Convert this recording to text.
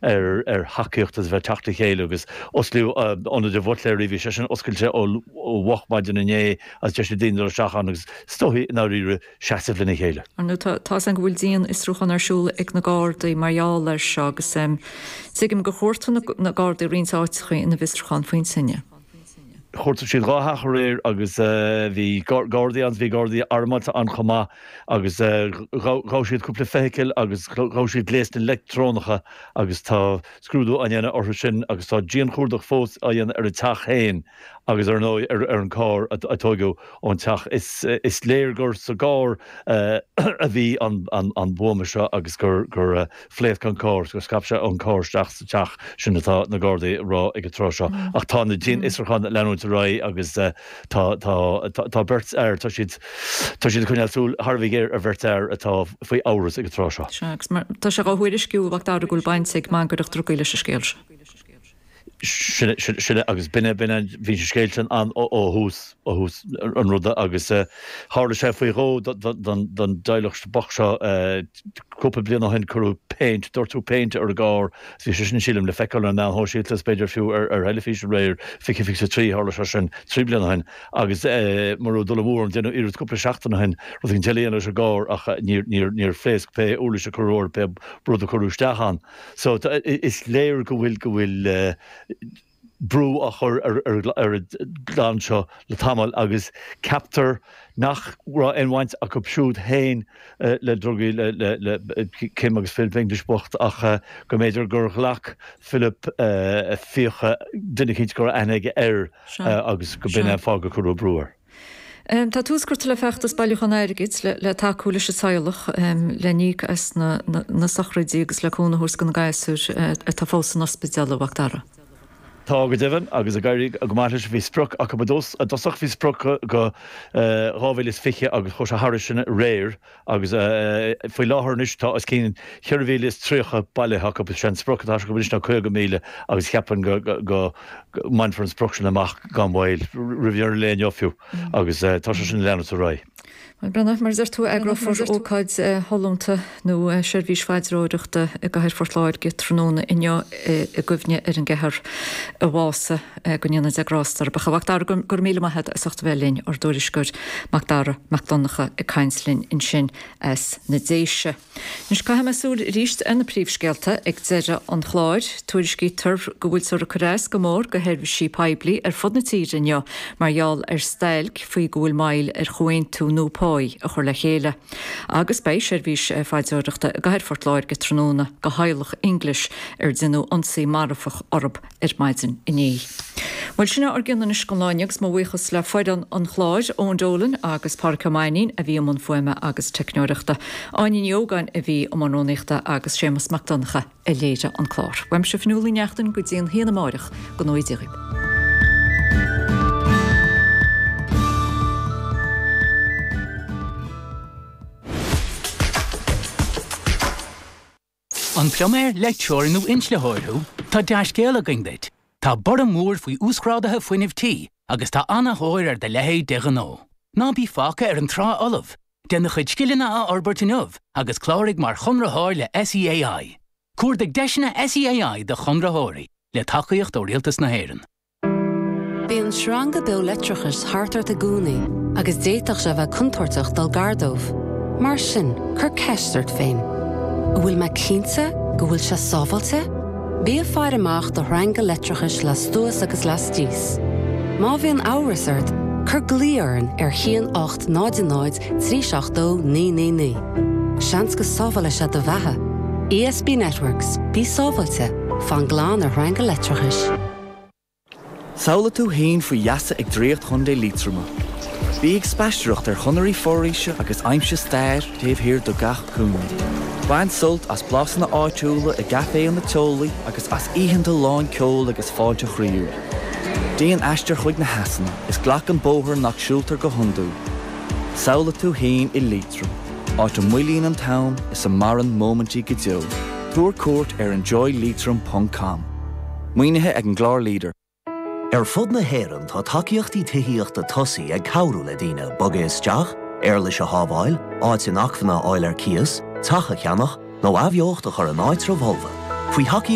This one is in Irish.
ar ar thacaíocht agus a bheith ag teacht le chéile agus osclaíodh Ionad an Bhuitléaraigh, bhí sé sin oscailte ó mhoch maidin inné agus deis ag daoine dul isteach ann agus is dóichí i ndáiríre seasamh lena chéile. Ar ndóigh tá tá 'fhios a'm go bhfuil dian-fhiosrúchán ar siúl ag na Gardaí mar gheall air seo agus tuigim gur chuartaigh na Gardaí roinnt áiteacha ina bhfiosrúchán faoin tine. Chuartaigh siad 2 theach aréir agus bhí Gardaí ann, bhí Gardaí armáilte ann chomh maith agus ghabh siad cúpla feithicil agus ghabh siad gléasanna leictreonacha agus tá scrúdú á dhéanamh orthu sin agus tá dianchuardach fós á dhéanamh ar an teach féin agus ar ndóigh ar an gcarr a tóigeadh ón teach. Is léir gur sa gcarr a bhí an buama seo agus gur phléasc an carr, gur scaip sé ón gcarr isteach sa teach, sin atá na Gardaí ag rá ag an tráth seo. Ach tá na dianfhiosrúcháin ag leanúint ar aghaidh agus tá, tá, tá beirt fhear, tá siad, tá siad ag coinneáil súil thar a bheith géar ar bheirt fhear atá faoi amhras ag an tráth seo. Sea, agus mar, tá sé á thuairisciú, a Mhac Dara, go bhfuil baint ag mangaireacht drugaí leis an scéal seo. Sin é, sin é, agus b'in é, b'in é, bhí an scéal sin ann ó thús, ó thús an ruda agus tharla sé faoi dhó don dteaghlach bocht seo cúpla bliain ó shin, cuireadh péint, doirteadh péint ar a gcarr agus bhí sé sin, sílim, le feiceáil ar na meáin shóisialta is b'fhéidir fiú ar theilifís aréir, 2023, tharla sé sin 3 bliana ó shin agus mura raibh dul amú orm, déanadh iarracht cúpla seachtain ó shin rud éigin eile a dhéanamh leis an gcarr ach níor, níor phléasc pé uirlis a cuireadh air, pé rud a cuireadh isteach ann. So is léir go bhfuil, go bhfuil brú á chur ar ar an gclann seo le tamall agus ceaptar nach raibh aon bhaint acu siúd féin le drugaí, le le Kim agus Philip English bocht ach go mb'fhéidir gur ghlac Philip fiacha duine eicínt go raibh aithne aige air agus go b'in é an fáth gur cuireadh brú air. Tá tús curtha le feachtas bailiúchán airgid le tacú leis an teaghlach le n-íoc as na sochraidí agus le cúnamh a thabhairt do na gasúir atá fós san ospidéal, a Mhac Dara. Tá go deimhin, agus ag éirí go maith leis. Bhí sprioc acu i dtosach, bhí sprioc go 2020 agus chuaigh sé thairis sin aréir. Agus faoi láthair anois tá os cionn 4,030 bailithe acu. Is é an sprioc atá acu anois ná 50,000 agus cheapfainn go mbainfear an sprioc sin amach gan mhoill, roimh dheireadh an lae inniu fiú, agus tá sé sin ag leanúint ar aghaidh. Bhuel, Breandán, mar a deir tú, eagrófar ócáid shollúnta nó seirbhís phaidreoireachta i gcathair Phort Láirge tráthnóna inniu i gcuimhne ar an gceathrar a bhásaigh. Go ndéana Dia grásta orthu. A Mhac Dara, go raibh míle maith agat as ucht a bheith linn, ár dtuairisceoir Mac Dara Mac Donncha ag caint linn ansin as na Déise. Anois caithfidh mé súil arís ar na príomhscéalta ag deireadh an chláir. Tuairiscítear go bhfuiltear ag cur as go mór do sheirbhísí poiblí ar fud na tíre inniu mar gheall ar stailc faoi go bhfuil moill ar chomhaontú nua páí a chur le chéile. Agus beidh seirbhís phaidreoireachta i gcathair Phort Láirge tráthnóna do theaghlach English ar deineadh ionsaí marfach orthu ar maidin inné. Bhuel, sin é ár gcion anois don lá inniu agus mo bhuíochas le foireann an chláir, Eoin Dolan agus Pádraic Ó Mainnín a bhí i mbun fuaime agus teicneoireachta, Áine Ní Ógáin a bhí i mbun rúnaíochta agus Séamus Mac Donncha a léirigh an clár. Uaimse Fionnuala Ní Neachtain go dtí an haon amáireach, go ngnóthaí Dia dhaoibh. An pluiméir, leictreoir nó inslitheoir thú? Tá dea-scéal againn duit! Tá borradh mór faoi uasghráduithe fuinnimh tí agus tá an-thóir ar do leithéid de ghnó. Ná bí fágtha ar an trá fholamh! Déan do chuid scileanna a fhorbairt inniu agus cláraigh mar chonraitheoir le SEAI. Cuardaigh deiseanna SEAI do chonraitheoirí, le tacaíocht ó Rialtas na hÉireann. Bíonn sreanga beo leictreachais thart ort i gcónaí agus d'fhéadfadh sé a bheith contúirteach dul gar dóibh. Mar sin, cuir ceist ort féin, An bhfuil mé cinnte go bhfuil sé sábháilte? Bí ag faire amach do shreanga leictreachais lastuas agus lastíos. Má bhíonn amhras ort, cuir glao orainn ar 1 8 0 0 3 7 2 9 9 9. Seans go sábhálfaidh sé do bheatha. ESB Networks, bí sábháilte, fan glan ar shreanga leictreachais. Samhlaigh tú féin faoi gheasa ag Draíocht Chontae Liatroma. Bí ag spaisteoireacht ar chonairí foraoise agus aimsigh stair taobh thiar de gach cúinne. Bain sult as blasanna áitiúla i gcaiféanna teolaí agus as oícheanta lán ceoil agus fáilte chroíúil. Déan aistear chuig na heasanna is glac an bóthar nach siúltar go hiondúil. Samhlaigh tú féin i Liatroim, áit a moillíonn an t-am is a maireann móimintí go deo. Tabhair cuairt ar enjoyleitrim ponc com. Maoinithe ag an gclár Leader. Ar fud na hÉireann tá tacaíochtaí tithíochta tosaigh ag cabhrú le daoine bogadh isteach, éarlais a shábháil, áit inacmhainne a fháil ar cíos, teach a cheannach, nó athbheocht a chur in áitreabh fholmha. Faoi thacaíocht.